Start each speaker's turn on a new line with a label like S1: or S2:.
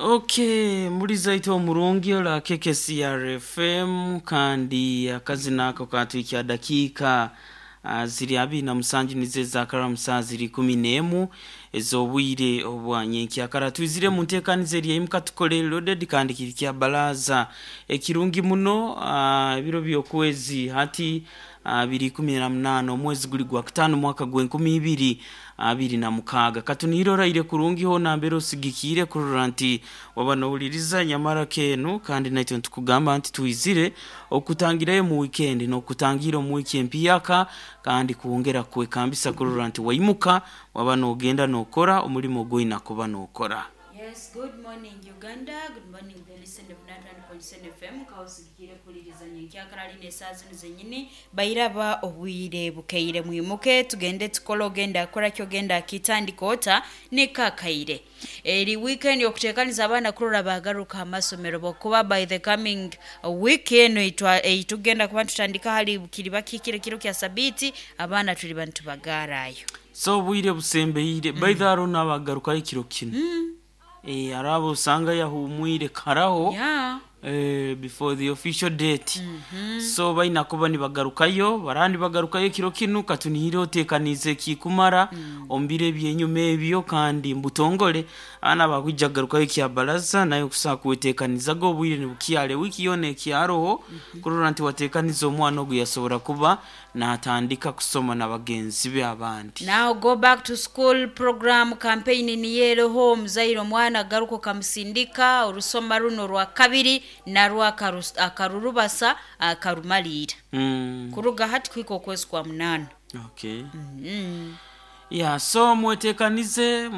S1: Okay, mulizaito omurungi ola KKCR FM, kandi akazina ako katwikya dakiika ziri 27 nizo ezakara saa ziri 11 ez'obwire obwa nyenkyakara. Twizire mu nteekaniza eri eimuka tukole loaded, kandi kiri kya baraza ekirungi muno. Ebiro by'okwezi hati biri 18, omwezi guli gwa kutaano, mwaka gw'e2026. Katunihire oraire kurungi hoona mbere osigikiire kurora nti waba nohuliriza nyamara keenu, kandi naitwe nitukugamba nti twizire okutangirayo mu weekend n'okutangira omu wiiki empyaka, kandi kwongera kwekambisa kurora nti waimuka waba nogenda nokora omulimo ogwoina kuba nokora.
S2: Yes, good morning, Uganda. Good morning, the listener of 91.7 FM. Kausigikire kuliriza nyenkyakara line saa zino zenyini. Bairaba obwire bukeire, mwimuke tugende tukole, ogenda akora kyogenda akitandika ota nekakaire. Eri weekend okutekaniza abaana kurora bagaruka amasomero, bokuba by the coming week eno itwa eitugenda kuba tutandika hali kiri bakikire kiro kya sabiti abaana tuli bantu bagarayo.
S1: So obwire busembeire baithe hariho n'abagarukayo ekiro kinu. Hariho abo osanga yahumwire karaho before the official date. So baina kuba nibagarukayo, baraba nibagarukayo ekiro kinu. Katunihire oteekaniize ekikumara omu biro ebyenyuma ebyo, kandi mbutongole abaana bakwija kugarukayo kya baraza, naye okusobola kweteekanizaga obwire nibukyara, wiiki yoona ekyaroho kurora nti wateekaniza omwana ogu yasobora kuba natandika kusoma na bagenzi be abandi.
S2: Now go back to school program campaign niyeroho omuzaire omwana agaruka okamusindika orusoma runo rwa kabiri narwo akarurubasa akarumaliira kuruga hati kuhika okwezi kwa 8.
S1: Okay. Yeah, so mwetekanize.